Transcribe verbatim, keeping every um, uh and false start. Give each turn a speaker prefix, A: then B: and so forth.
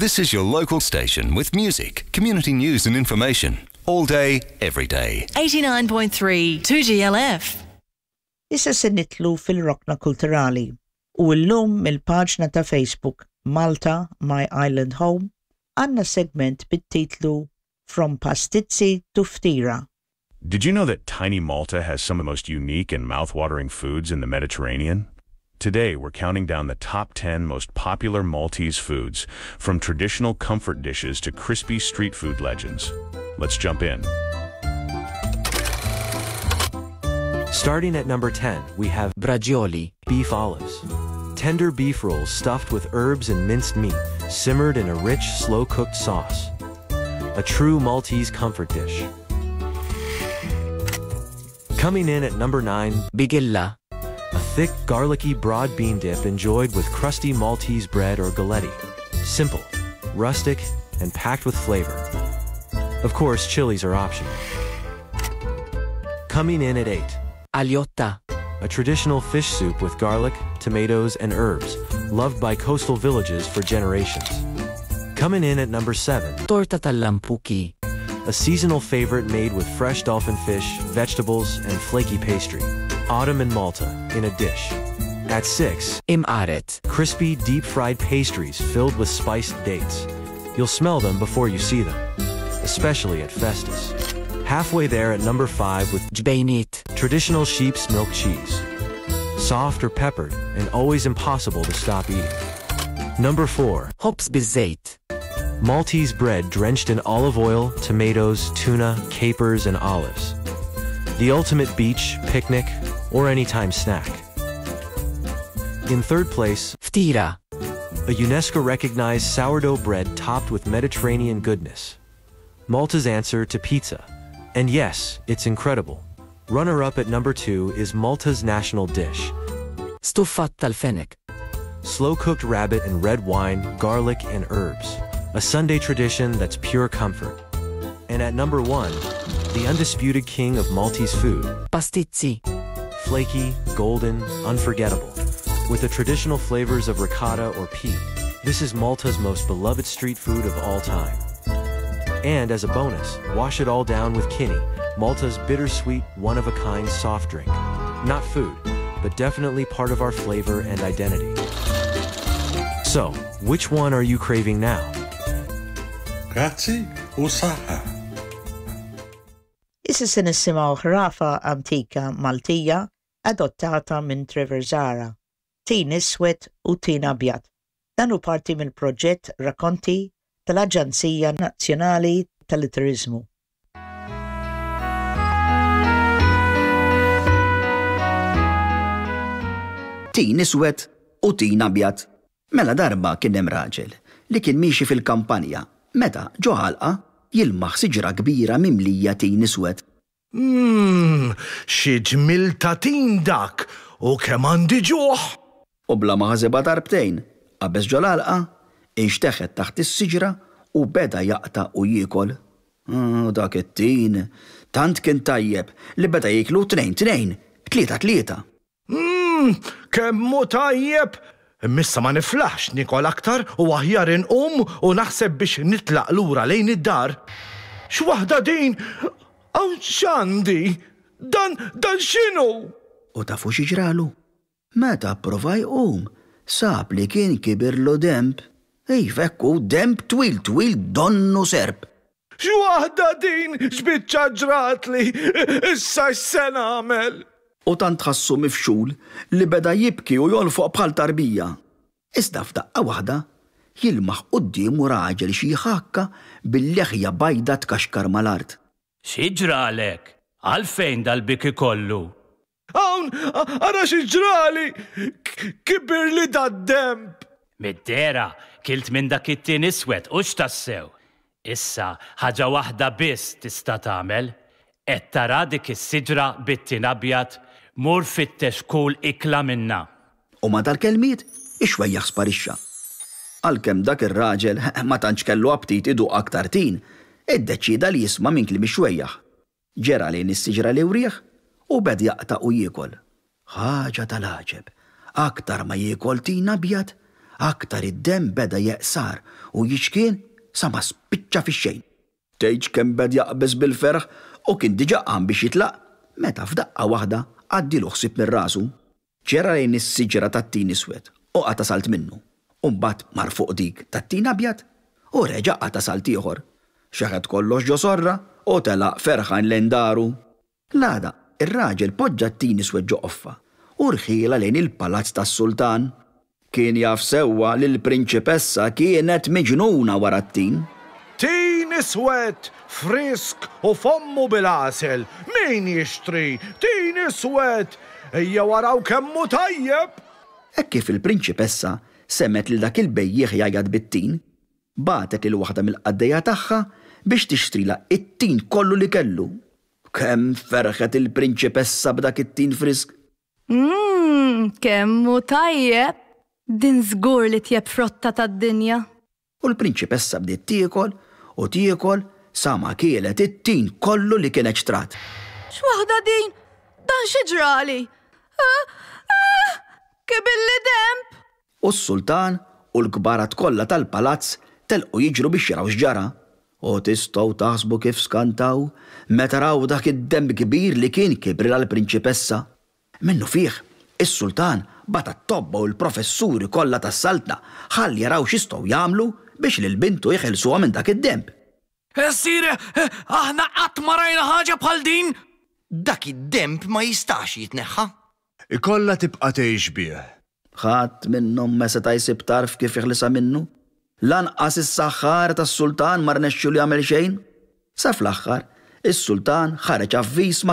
A: This is your local station with music, community news and information. All day, every day.
B: eighty-nine point three, two G L F.
C: Issa se nitlu fil-rokna kulturali u llum mill-paġna ta' Facebook Malta My Island Home għandna segment bit-titlu From Pastizzi to Ftira.
D: Did you know that tiny Malta has some of the most unique and mouth-watering foods in the Mediterranean? Today, we're counting down the top ten most popular Maltese foods, from traditional comfort dishes to crispy street food legends. Let's jump in.
E: Starting at number ten, we have
F: Bragioli,
E: beef olives. Tender beef rolls stuffed with herbs and minced meat, simmered in a rich, slow-cooked sauce. A true Maltese comfort dish. Coming in at number nine,
F: Bigilla.
E: A thick, garlicky broad bean dip enjoyed with crusty Maltese bread or galletti. Simple, rustic, and packed with flavor. Of course, chilies are optional. Coming in at eight,
F: Aljotta.
E: A traditional fish soup with garlic, tomatoes, and herbs, loved by coastal villages for generations. Coming in at number seven,
F: Torta tal-lampuki.
E: A seasonal favorite made with fresh dolphin fish, vegetables, and flaky pastry. Autumn in Malta, in a dish. At six,
F: Imqaret.
E: Crispy, deep-fried pastries filled with spiced dates. You'll smell them before you see them, especially at Festus. Halfway there at number five with
F: Ġbejniet.
E: Traditional sheep's milk cheese. Soft or peppered, and always impossible to stop eating. Number four,
F: Ħobż biż-żejt.
E: Maltese bread drenched in olive oil, tomatoes, tuna, capers, and olives. The ultimate beach, picnic, or anytime snack. In third place,
F: Ftira.
E: A UNESCO-recognized sourdough bread topped with Mediterranean goodness. Malta's answer to pizza. And yes, it's incredible. Runner-up at number two is Malta's national dish.
F: Stuffat tal-fenek.
E: Slow-cooked rabbit in red wine, garlic, and herbs. A Sunday tradition that's pure comfort. And at number one, the undisputed king of Maltese food.
F: Pastizzi.
E: Flaky, golden, unforgettable. With the traditional flavors of ricotta or pea, this is Malta's most beloved street food of all time. And as a bonus, wash it all down with Kinnie, Malta's bittersweet, one-of-a-kind soft drink. Not food, but definitely part of our flavor and identity. So, which one are you craving now?
G: Grazzi u saħħa.
C: Issa se nisimgħu ħrafa antika Maltija adottata minn Trevor Zahra, Tin Iswed u Tin Abjad. Dan hu parti mill-proġett Rakkonti tal-Aġenzija Nazzjonali tal-Litteriżmu.
H: Tin Iswed u Tin Abjad. Mela darba kien hemm raġel li kien miexi fil-kampanja meta ġo ħalqa jilmaħ siġra kbira mimlija tin iswed.
I: Mm, xi ġmil ta' tin dak u kemm għandi ġuħ!
H: U bla ma ħasibha darbtejn, qabeż ġo l-għalqa, inxteħet taħt is-siġra u beda jaqta' u jiekol. U dak it-tin tant kien tajjeb li beda jieklu tnejn tnejn, tlieta tlieta.
I: Mm, kemm hu tajjeb! Imma ma niflaħx nikol aktar u aħjar inqum u naħseb biex nitlaq lura lejn id-dar. X'waħda din? Hawn x'għandi? Dan, dan x'inhu?
H: U tafu xi ġralu? Meta pprova jqum, sab li kien kibirlu demb. Iva, hekk hu, demb twil twil donnu serp.
I: X'waħda din? X'biċċa ġratli? Issa x'se nagħmel?
H: U tant ħassu mifxul li beda jibki u jolfoq bħal tarbija. Iżda f'daqqa waħda jilmaħ quddiemu raġel xi ħakka bil-leħja bajda tkaxkar mal-art.
J: Xi ġralek? Għalfejn dal-biki kollu?
I: Hawn, ara xi ġrali! Kibir li dad-demb!
J: Mid-dera, kilt minn dak it-tin iswed u x'tassew. Issa, ħaġa waħda biss tista' tagħmel. Qed tara dik is-siġra bit-tin abjad, mur fittex kull ikla minna.
H: U ma dal-kelmiet, ix-xwejjaħ sparixxa. Għalkemm dak ir-raġel ma tantx kellu aptit iduq aktar tin, iddeċieda li jisma' minn kliem ix-xwejjaħ. Ġera lejn is-siġra li wrieħ u bed jaqta' u jiekol. Ħaġa tal-għaġeb, aktar ma jiekol tin abjad, aktar id-demm beda jeqsar u jiċkien sa ma spiċċa fix-xejn. Tgħidx kemm beda jaqbeż bil-ferħ u kien diġà qam biex jitlaq meta f'daqqa waħda għaddielu ħsieb minn rasu. Ġera lejn is-siġra tat-tin iswed u qata' salt minnu. U mbagħad mar fuq dik tat-tin abjad u reġa' qata' salt ieħor. Xeħet kollox ġo sorra u telaq ferħan lejn daru. L-għada, ir-raġel poġġa t-tin iswed ġo qoffa u rħielha lejn il-palazz tas-sultan. Kien jaf sewwa li l-prinċipessa kienet miġnuna wara t-tin.
I: Tin iswed, frisk u fommu bil-għasel! Min jixtri? Tin iswed! Ejjew araw kemm hu tajjeb!
H: Hekk kif il-prinċipessa semgħet lil dak il-bejjiegħ jgħajjat bit-tin, bagħtet lil waħda mill-qaddejja tagħha biex tixtrilha t-tin kollu li kellu. Kemm ferħet il-prinċipessa b'dak it-tin frisk!
K: Mmm, kemm hu tajjeb! Din żgur l-itjeb frotta tad-dinja!
H: U l-prinċipessa bdiet tiekol u tiekol sa ma kielet it-tin kollu li kienet xtrat.
K: X'waħda din! Dan xi ġrali? Ah! Ah! Kibilli denb!
H: U s-sultan u l-kbarat kollha tal-palazz telqu jiġru biex jaraw x'ġara. U tistgħu taħsbu kif skantaw meta raw dak id-denb kbir li kien kibrilha l-prinċipessa. Minnufih, is-sultan bagħat għat-tobba u l-professuri kollha tas-saltna ħalli jaraw x'jistgħu jagħmlu biex lil bintu jeħilsuha minn dak id-denb.
L: Sire, aħna qatt ma rajna ħaġa bħal din!
M: Dak id-denb ma jistax jitneħħa.
N: Ikollha tibqa' tgħix bih.
H: Ħadd minnhom ma seta' jsib tarf kif jeħlisha minnu. Lanqas is-saħħar tas-sultan ma rnexxielu jagħmel xejn. Sa fl-aħħar, is-sultan ħareġ avviż mas